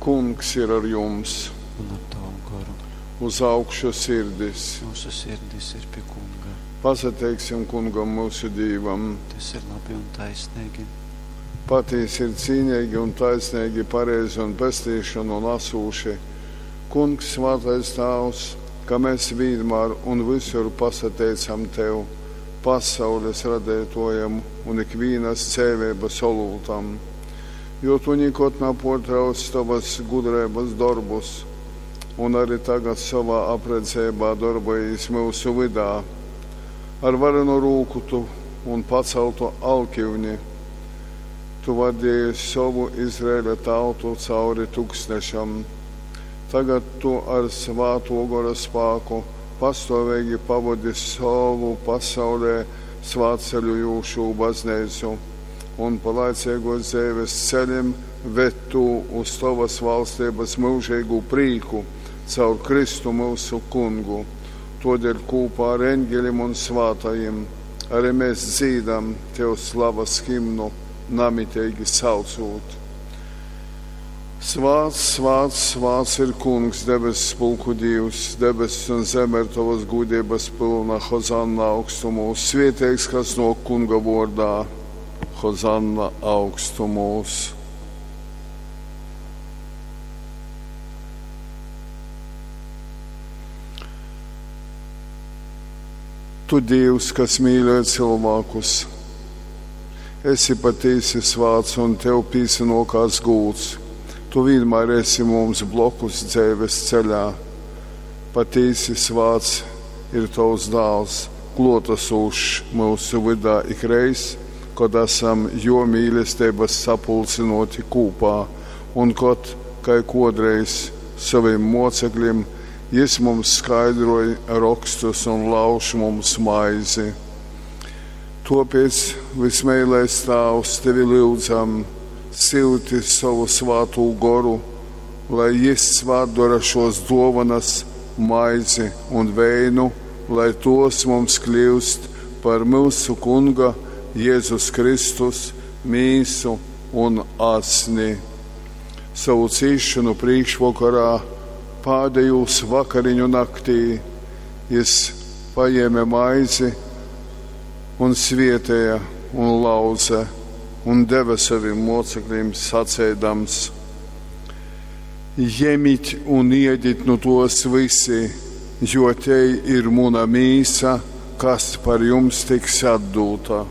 Kungs ir ar jums! Un ar tavu goru. Uz augšu sirdis! Mūsu sirdis ir pie Kunga. Pasateiksim Kungam myusu Dīvam! Tas ir labi un taisnīgi. Patīsi ir cīnīgi un taisnīgi, pareizi un pestīšanu nesūši. Kungs, svātais Tāvs, ka mēs vienmēr un visur pasateicam Tev, pasaules radētojam un ikvīnas dzēvības olūtam, jo Tu nikod nepārtrauc Tavas gudrības darbus, un arī tagad savā apredzībā darbojies mūsu vydā. Ar varenu rūku Tu un paceltu alkivni Tu vadīji savu Izraēļa tautu cauri tuksnešam. Tagad Tu ar svāto gora spāku pastāvīgi pavadi savu pasaulē svātceļojošo baznīcu un pa laicīgos dzīves ceļiem ved Tu uz Tavas valstības mūžīgu prīku caur Kristu mūsu kungu. Todēļ kopā ar eņģelim un svātajiem arī mēs dzīdam Tev slavas himnu, namitīgi saucot. Svāts, svāts, svāts ir Kungs, debesu pulku Dievs, debesis un zeme ir Tavas gudrības pilna, Hozanna augstumos, svieteigs, kas no Kunga vārdā, Hozanna augstumos. Tu Dievs, kas mīļo cilvēkus, esi patīsi svāts un tev pīsinokās gūts. Tu vienmēr esi mums blokus dzīves ceļā. Patīsi svāts ir tavs dāls, klotasūšs mūsu vydā ikreiz, kad esam jo mīlestības sapulcinoti kūpā un kad, kai kodreiz saviem mocekļiem, jis mums skaidroja rakstus un lauž mums maizi. Tāpēc, vismīļais Tēvs, tevi lūdzam, silti savu svātū goru, lai jis svātdara šos dovanas, maizi un veinu, lai tos mums kļūst par mūsu Kunga Jēzus Kristus mīsu un asni. Savu cīšanu priekšvakarā, pādējūs vakariņu naktī, jis paņēma maizi un svietēja un lauze un deva saviem mocekļiem sacēdams: Ņemit un iedit nu tos visi, jo te ir muna mīsa, kas par jums tiks atdūta.